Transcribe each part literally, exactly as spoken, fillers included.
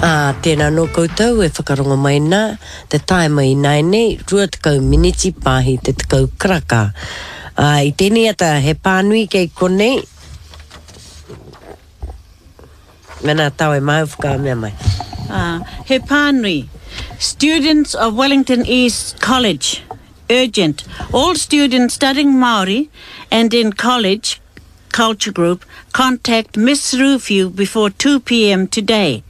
Ā, tēnā nō koutou e whakarongo mai nā, te taima ināianei, rua tekau miniti pāhi te tekau karaka. Ā, i tēnei ata he pānui kei konei, Mēnā tāu e māu whakamea mai. Ā, he pānui. Students of Wellington East College, urgent, all students studying Māori and in college culture group, contact Miss Ruwhiu before two pm today.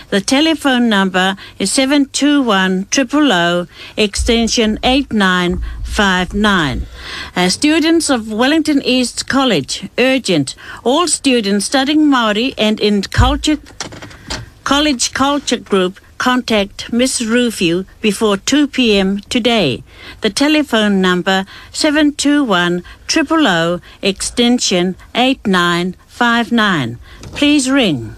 The telephone number is seven two one triple oh extension eight nine five nine. Uh, students of Wellington East College, urgent, all students studying Māori and in culture, college culture group, contact Miss Ruwhiu before two pm today. The telephone number seven two one triple oh extension eight nine five nine. Please ring.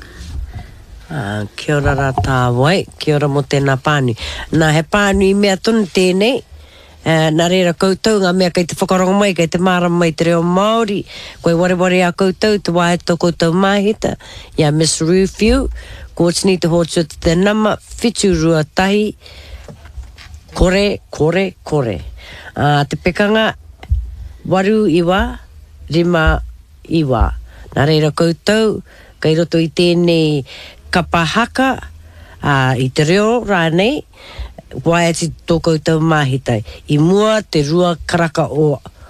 Ā, kia ora rā tāwai, kia ora mō tēnā pānui. Nā, he pānui mea tonu tēnei, ā, nā reira koutou ngā mea kei te whakarongo mai, kei te mārama mai te reo Māori, koi wareware a koutou te wā e tō koutou māhita, i a Miss Ruwhiu, kōtini te hōtua te nama, whitu rua tahi, kore, kore, kore. Ā, te pekanga, waru iwa, rima, iwa. Nā reira koutou, kei roto i tēnei kapa haka, ā, i te reo rānei, waeati tō koutou māhitai. I mua te rua karaka o,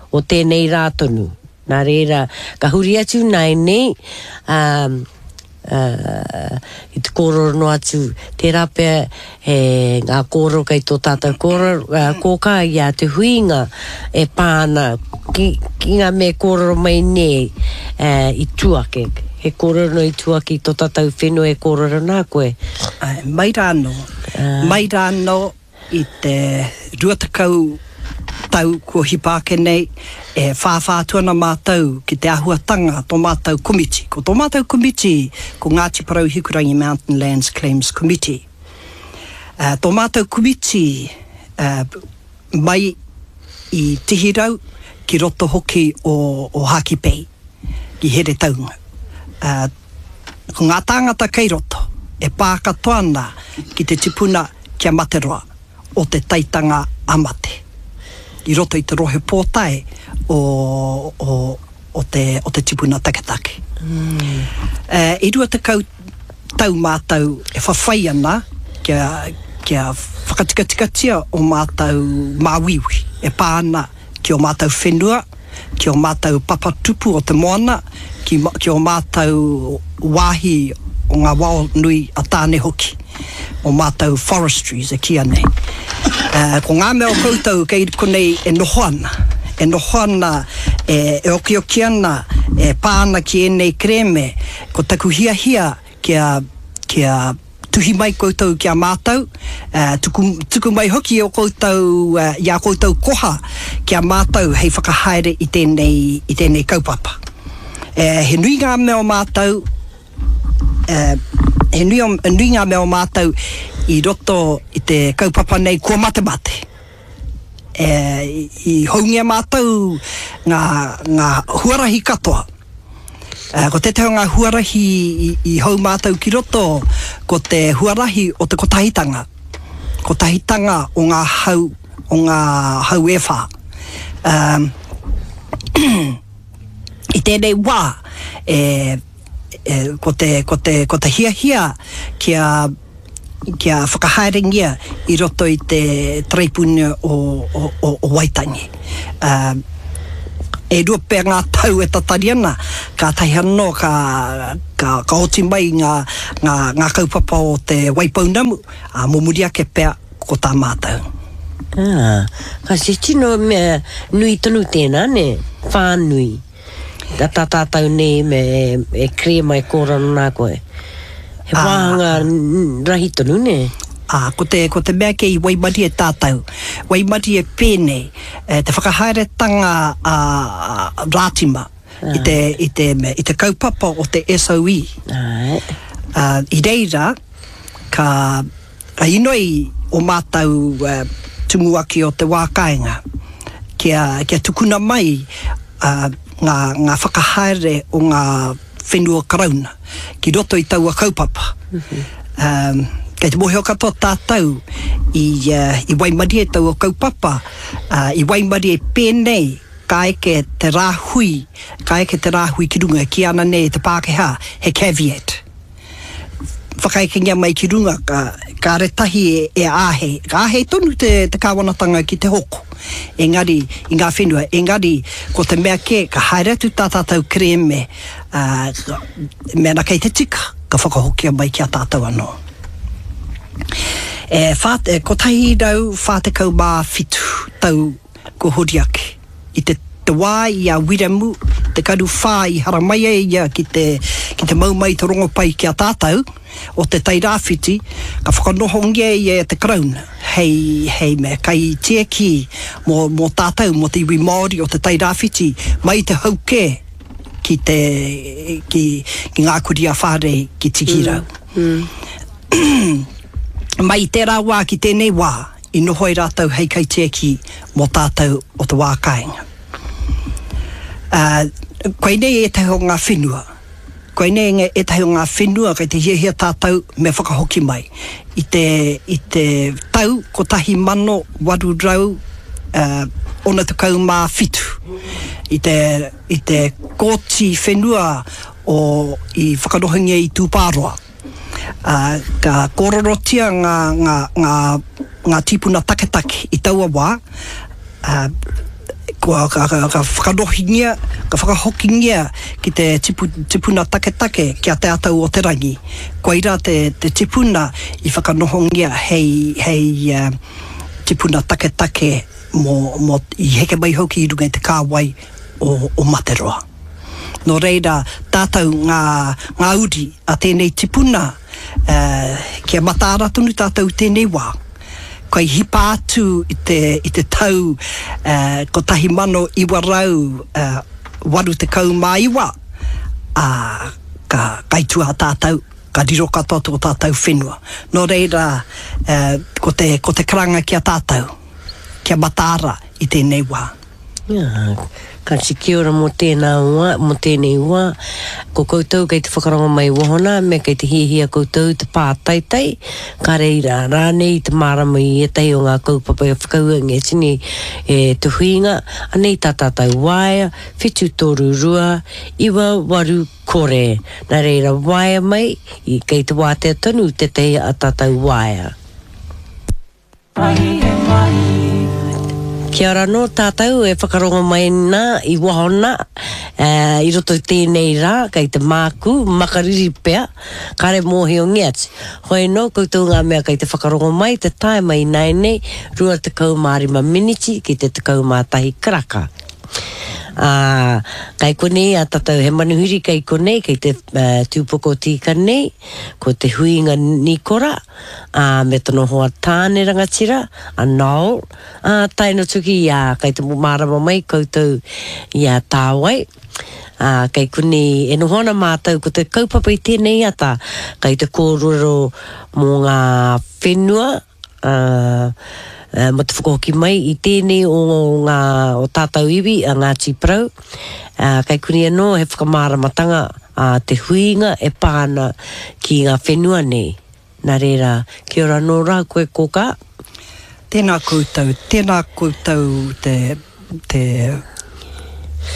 o tēnei rā tonu. Nā reira, ka huri atu nāianei, ā, ā, i te kōrero noa atu, tērā pea he ngā kōrero kei tō tātou kōrero, ā, kōkā i a Te Huinga e pā ana ki, ki ngā mea kōrero mai nei, ā, i tua ake. He kōrero noa i tua ake i tō tātou whenua e kōrero nā koe. Āe, mai rā anō, mai rā anō i te rua tekau tau kua hipa ake nei, e whāwhā atu ana mātou ki te āhuatanga tō mātou komiti. Ko tō mātou komiti ko Ngāti Porou Hikurangi Mountain Lands Claims Committee. Tō mātou komiti mai i Tihirau ki roto hoki o Hākipei, ki Heretaunga. Ko ngā tāngata kei roto e pā katoa ana ki te tipuna ki a Materoa o te taitanga a Mate i roto i te rohe pōtae o, o, o te, o te tipuna taketake. E rua tekau tau mātou e whawhai ana kia, kia whakatikatikatia o mātou māuiui e pā ana ki ō mātou whenua, ki ō mātou papa tupu o te moana, ki, ki ō mātou wāhi o ngā wao nui a Tāne hoki, ō mātou forestries e kīia nei. Uh, ko ngā mea o koutou kei konei e noho ana, e noho ana, e, e okioki ana, e pā ana ki ēnei kerēme, ko taku hiahia kia, kia tuhi mai koutou ki a mātou, tuku, tuku mai hoki o koutou, i a koutou koha ki a mātou hei whakahaere i tēnei, i tēnei kaupapa. E, he nui ngā mea o mātou, e, he nui, o, nui ngā mea o mātou i roto i te kaupapa nei kua matemate. E, i houngia mātou ngā, ngā huarahi katoa. Ko tētahi o ngā huarahi i hou mātou ki roto, ko te huarahi o te kotahitanga, kotahitanga o ngā hau, o ngā hau e whā. I tēnei wā, e, e, ko te, ko te, ko te hiahia kia, kia whakahaerengia i roto i te Taraipiunara o, o, o, o Waitangi. E rua pea ngā tau e tatari ana, kātahi anō ka, ka, ka oti mai ngā, ngā, ngā kaupapa o te Waipounamu, ā, mō muri ake pea ko tā mātou. Ā, ka he tino mea nui tonu tēnā, nē? Whānui. Tā tātou nei me e kerēma e kōrero nā koe. He wāhanga rahi tonu, nē? Ā, ko te, ko te mea kē i waimarie tātou, waimarie pēnei, e, te whakahaeretanga a, a Rātima i te, i te, i te kaupapa o te S O E. Āe. Ā, i reira, ka, ka inoi o mātou e, tumuaki o te wā kāinga, kia, kia tukuna mai, ā, ngā, ngā whakahaere o ngā whenua karauna ki roto i taua kaupapa. Um, kei te mōhio katoa tātou i, uh, i waimarie taua kaupapa, uh, i waimarie pēnei ka eke te rāhui, ka eke te rāhui ki runga, ki ana nei te Pākehā, he caveat. Whakaekengia mai ki runga, ka, ka retahi e, e āhei. Ka āhei tonu te, te kāwanatanga ki te hoko. Engari, i ngā whenua, engari, ko te mea kē, ka haere atu tā tātou kerēme, uh, mēnā kei te tika, ka whakahokia mai ki a tātou anō. E, whā, e, kotahi rau whā tekau mā whitu tau ko hori ake. I te, te wā i a Wiremu, te karu whā i haramai ai ia ki te, ki te mau mai te rongopai ki a tātou, o te Tairāwhiti, ka whakanohongia ia e te Karauna, hei, hei mea kai tieki mō, mō tātou, mō te iwi Māori o te Tairāwhiti, mai te haukē ki te, ki, ki ngā kuri a Whārei ki Tikirau. Mm. Mm. Mai i tērā wā ki tēnei wā, i noho ai rātou hei kaitiaki mō tātou o te wā kāinga. Uh, koinei ētahi o ngā whenua. Koinei ētahi o ngā whenua kei te hiahia tātou me whakahoki mai. I te, i te tau kotahi mano waru rau uh, ono tekau mā whitu. I te, i te kōti whenua o, i whakanohongia i Tūpāroa. Uh, ka kōrorotia ngā, ngā, ngā, ngā tīpuna taketake i taua wā, uh, kua, ka, ka, ka whakanohingia, ka whakahokingia ki te tipu, tipuna taketake ki a Te Atau o Te Rangi. Koira te, te tipuna i whakanohongia hei, hei uh, tipuna taketake mō, mō, i heke mai hoki i runga i te kāwai o, o Materoa. Nō reira, tātou ngā, ngā uri a tēnei tipuna, uh, kia mataara tonu tātou tēnei wā. Kai hipa atu i te, i te tau uh, kotahi mano iwa rau uh, waru tekau mā iwa, a, ka kaitua tātou, ka riro katoa tō tātou whenua. Nō reira, uh, ko te, ko te karanga ki a tātou, kia mataara i tēnei wā. Yeah. Ka kia ora mō tēnā wā, mō tēnei wā. Ko koutou kei te whakarongo mai wahona, me kei te hihia koutou te pātaitai, ka reira rānei te mārama i ētahi o ngā kaupapa e whakauangia tini e te huinga, anei tā tātou waea, whitu toru rua, iwa waru kore. Nā reira waea mai, i kei te wātea tonu tētahi a tātou waea. Kia ora nō tātou e whakarongo mai nā i wahona, uh, i roto i tēnei rā, kei te māku, makariri pea, kare mōhiongia atu. Hoi nō koutou ngā mea kei te whakarongo mai, te tae mai nei nei, rua tekau mā rima miniti ki te tekau mā tahi karaka. Uh, kai konei a tātou he manuhiri kai konei, kei te uh, tūpoko tīka nei, ko te huinga Nikora, uh, me tono hoa tāne rangatira, a Noel, uh, tae no tuki i a kai te mārama mai koutou i a tāwai. Uh, kei konei e noho ana mātou ko te kaupapa i tēnei ata, kai te kōrero mō ngā whenua, uh, Uh, mo te whakahoki mai i tēnei o ngā o tātou iwi a Ngāti Porou. Uh, kai kuni anō he whakamāramatanga a te huinga e pā ana ki ngā whenua nei. Nā reira, kia ora nō rā koe kōkā. Tēnā koutou, tēnā koutou te, te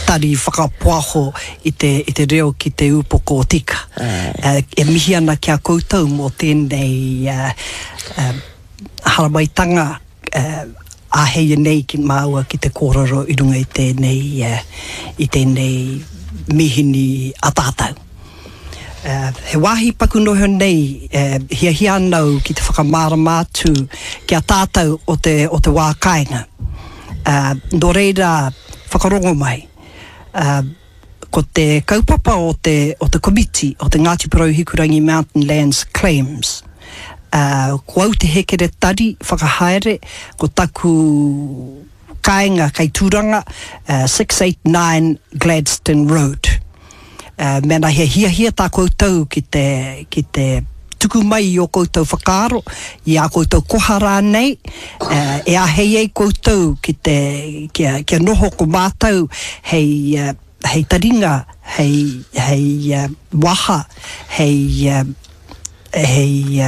tari whakapoaho i te, i te reo ki te upoko o tika. Uh, e mihi ana ki a koutou mō tēnei uh, uh, haramaitanga uh, āhei nei ki māua ki te kōrero i runga i tēnei, uh, i tēnei mihini a tātou. Uh, he wāhi paku noho nei, uh, hiahia anau ki te whakamārama atu ki a tātou o te, o te wā kāinga. Uh, nō reira whakarongo mai. Uh, ko te kaupapa o te, o te komiti o te Ngāti Porou Hikurangi Mountain Lands Claims. Uh, ko au te hekeretari whakahaere, ko taku kāinga kei Tūranga, uh, six eight nine Gladstone Road. Uh, mēnā he hiahia tā koutou ki te, ki te tuku mai i o koutou whakaaro, i a koutou koha rānei, uh, e āhei ai koutou ki te, kia, kia noho ko mātou hei, uh, hei taringa, hei, hei uh, waha, hei uh, hei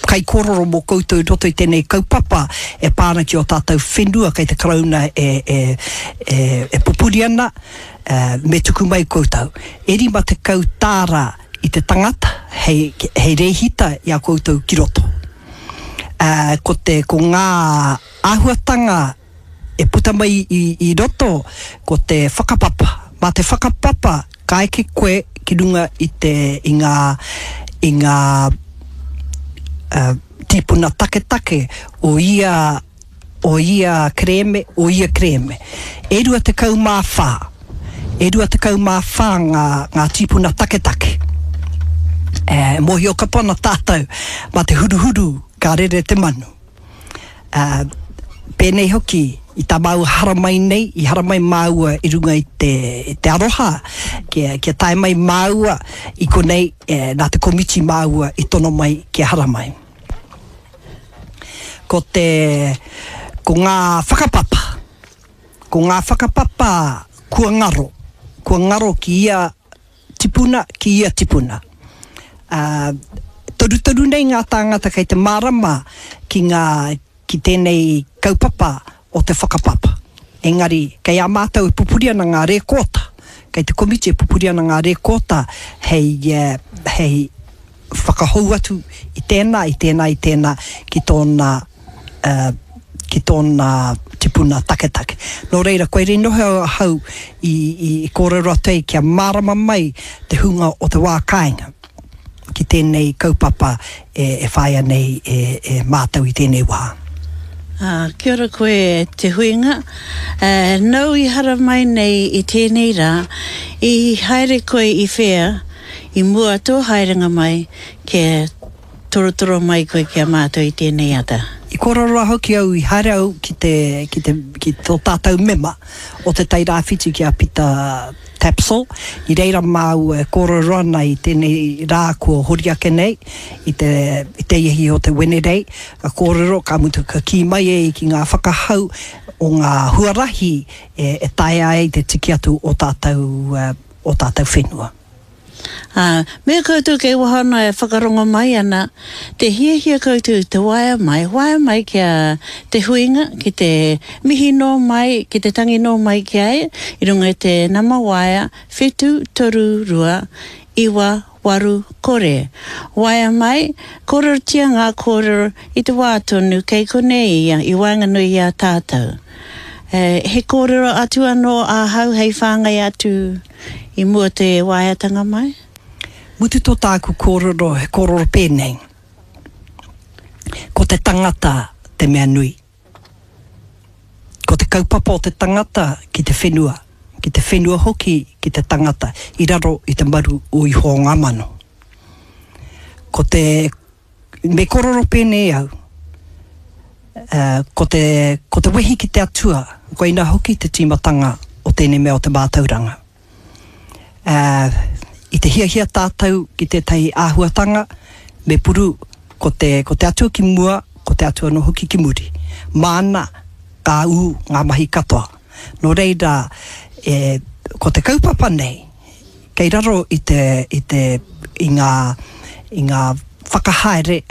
kaikōrero mō koutou i roto i tēnei kaupapa e pā ana ki ō tātou whenua kei te Karauna e, e, e, e pupuri ana, me tuku mai koutou. E rima tekau tāra i te tangata hei, hei rēhita i a koutou ki roto. Uh, ko te, ko ngā āhuatanga e puta mai i, i roto, ko te whakapapa. Mā te whakapapa ka eke koe ki runga i te, i ngā, i ngā uh, tīpuna taketake o ia, o ia kerēme, o ia kerēme. E rua tekau mā whā. E rua tekau mā whā ngā, ngā tīpuna taketake. E, mōhio katoa ana tātou, mā te huruhuru ka rere te manu. Uh, pēnei hoki, i tā māua haramai nei, i haramai māua i runga i te, i te aroha, kia, kia tae mai māua i konei, e, nā te komiti māua i tono mai kia haramai. Ko te, ko ngā whakapapa, ko ngā whakapapa kua ngaro, kua ngaro ki ia tipuna, ki ia tipuna. Uh, torutoru nei ngā tāngata kei te mārama ki ngā, ki tēnei kaupapa o te whakapapa. Engari, kei a mātou e pupuri ana ngā rēkōta, kei te komiti e pupuri ana ngā rēkōta hei, hei whakahou atu i tēnā, i tēnā, i tēnā ki tōna, uh, ki tōna tipuna taketake. Nō reira, koirei noho ahau i, i kōrero atu ai kia mārama mai te hunga o te wā kāinga ki tēnei kaupapa e, e whāia nei e, e mātou i tēnei wā. Ah, kia ora koe te huinga. Uh, nau i haramai nei i tēnei rā, i haere koe i whea, i mua tō haerenga mai, kia torotoro mai koe ki a mātou i tēnei ata. I kōrero hoki au, i haere au ki te, ki te, ki tō tātou mema o te Tairāwhiti ki a Pita Tapsell. I reira māua e kōrero ana i tēnei rā kua hori ake nei, i te, i te ihi o te Wenerei, ka kōrero, ka mutu ka kī mai e ki ngā whakahau o ngā huarahi e, e taea ai te tiki atu o tātou, o tātou whenua. Ah, me koutou kei waho e whakarongo mai ana, te hiahia koutou te waea mai, waea mai ki a te huinga, ki te mihi nō mai, ki te tangi nō mai ki a ia, i runga i te nama waea, whitu, toru, rua, iwa, waru, kore. Waea mai, kōrerotia ngā kōrero i te wā tonu kei konei ia, i waenganui i a tātou. Eh, he kōrero atu anō ahau hei whāngai atu i mua te waeatanga mai? Mutu tō tāku kōrero, he kōrero pēnei. Ko te tangata te mea nui. Ko te kaupapa o te tangata ki te whenua, ki te whenua hoki ki te tangata i raro i te maru o Ihowa ngā mano. Ko te, me kōrero pēnei au, uh, ko te, ko te wehi ki te atua, koina hoki te tīmatanga o tēnei mea o te mātauranga. Uh, i te hiahia tātou ki tētahi āhuatanga, me puru ko te, ko te atua ki mua, ko te atua anō hoki ki muri. Māna ka ū ngā mahi katoa. Nō reira, e, ko te kaupapa nei, kei raro i te, i te, i ngā, i ngā whakahaere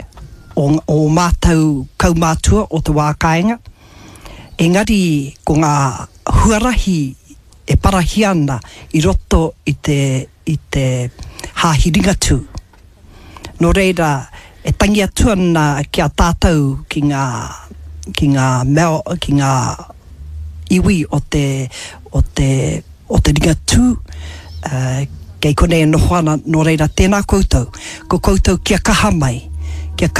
o, o mātou kaumātua o te wā kāinga, engari ko ngā huarahi e parahia ana i roto i te, i te hāhi Ringatū. Nō reira, e tangi atu ana ki a tātou ki ngā, ki ngā mea, ki ngā iwi o te, o te, o te Ringatū, uh, kei konei e noho ana, nō reira, tēnā koutou, ko koutou kia kaha mai, kia kaha